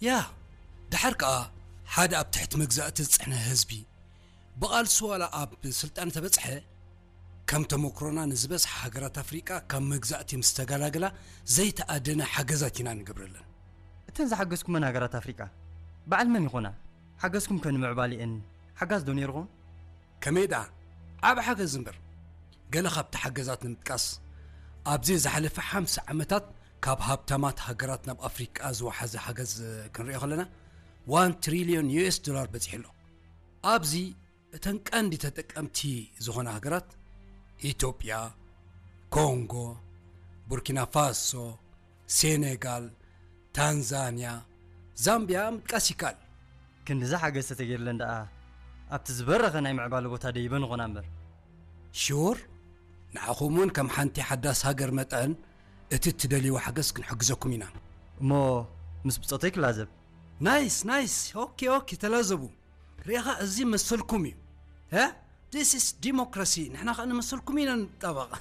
ያ፣ ድሓር ከኣ ሓደ ኣብ ትሕቲ መግዛእቲ ዝጸንሐ ህዝቢ ብቓልሱ ዋላ ኣብ ስልጣን ተበጽሐ፣ ከም ተመክሮና ንዝበዝሓ ሃገራት ኣፍሪቃ ካብ መግዛእቲ ምስ ተገላግላ ዘይተኣደነ ሓገዛት ኢና ንገብረለን። እተን ዝሓገዝኩመን ሃገራት ኣፍሪቃ በዓል መን ይኾና? ሓገዝኩም ከ ንምዕባሊኤን ሓጋዝ ዶ ነይርኹም? ከመይ ደኣ ዓብ ሓገዝ እምበር። ገለ ካብቲ ሓገዛት ንምጥቃስ፣ ኣብዚ ዝሓለፈ ሓምሳ ዓመታት ካብ ሃብታማት ሃገራት ናብ ኣፍሪቃ ዝወሓዘ ሓገዝ ክንሪኦ ከለና፣ ዋን ትሪልዮን ዩ ኤስ ዶላር በጺሑ ኣሎ። ኣብዚ እተን ቀንዲ ተጠቀምቲ ዝኾና ሃገራት፣ ኢትዮጵያ፣ ኮንጎ፣ ቡርኪና ፋሶ፣ ሴኔጋል፣ ታንዛንያ፣ ዛምቢያ ምጥቃስ ይከኣል። ክንድዚ ሓገዝ ተተገይርለን ደኣ ኣብቲ ዝበረኸ ናይ ምዕባለ ቦታ ደይበን ኾና እምበር። ሽውር፣ ንዓኹም እውን ከም ሓንቲ ሓዳስ ሃገር መጠን እቲ እትደልይዎ ሓገዝ ክንሕግዘኩም ኢና። እሞ ምስ ብጾተይ ክላዘብ። ናይስ ናይስ። ኦኬ ኦኬ፣ ተላዘቡ። ርኢኻ፣ እዚ መሰልኩም እዩ። ዲስ ኢስ ዲሞክራሲ። ንሕና ከኣ ንመሰልኩም ኢና ንጣበቕ።